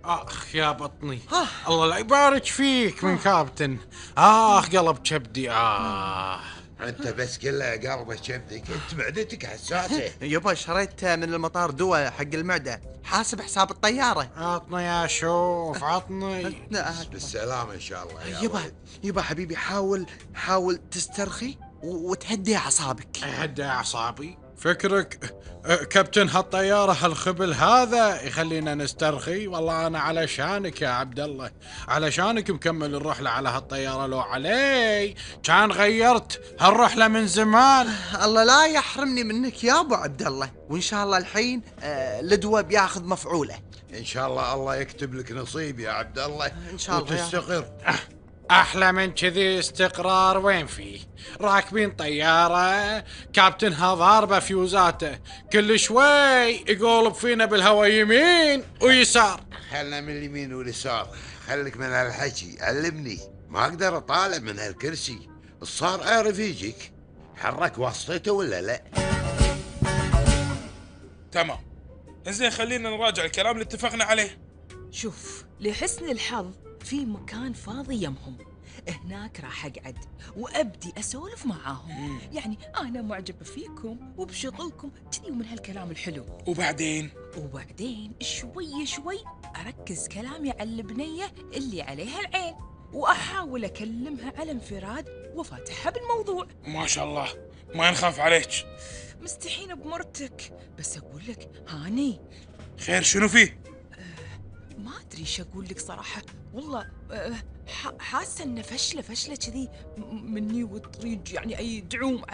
اخ يا بطني. ها. الله لا يبارك فيك من كابتن. قلب كبدي. انت بس كله قلبه كبدك، انت معدتك حساسه. يبا شريت من المطار دواء حق المعدة، حاسب حساب الطيارة. عطني يا شوف عطني. بالسلامة ان شاء الله يا يبا ولد. يبا حبيبي، حاول تسترخي وتهدي أعصابك. هدى اعصابي فكرك كابتن هالطيارة هالخبل هذا يخلينا نسترخي؟ والله انا علشانك يا عبد الله، علشانك مكمل الرحلة على هالطيارة، لو علي كان غيرت هالرحلة من زمان. الله لا يحرمني منك يا ابو عبد الله، وان شاء الله الحين الدواء بياخذ مفعوله. ان شاء الله يكتب لك نصيب يا عبد الله ان شاء الله وتستقر. احلى من كذي استقرار وين فيه؟ راكبين طيارة كابتنها ضاربة فيوزاته، كل شوي يقولب فينا بالهوا يمين ويسار. خلنا من اليمين واليسار، خليك من هالحكي، علمني ما اقدر اطالع من هالكرسي. الصار اعرف يجيك، حرك واسطته ولا لا؟ تمام. زين خلينا نراجع الكلام اللي اتفقنا عليه. شوف، لحسن الحظ في مكان فاضي يمهم، هناك راح اقعد وابدي اسولف معاهم. يعني انا معجبه فيكم وبشغلكم كذي ومن هالكلام الحلو. وبعدين شوي شوي اركز كلامي على البنيه اللي عليها العين، واحاول اكلمها على انفراد وفاتحها بالموضوع. ما شاء الله ما نخاف عليك. مستحينه بمرتك، بس اقول لك هاني. خير شنو فيه؟ ما ادري ايش اقول لك صراحه، والله حاسه انه فشله كذي مني وتريد يعني اي دعوم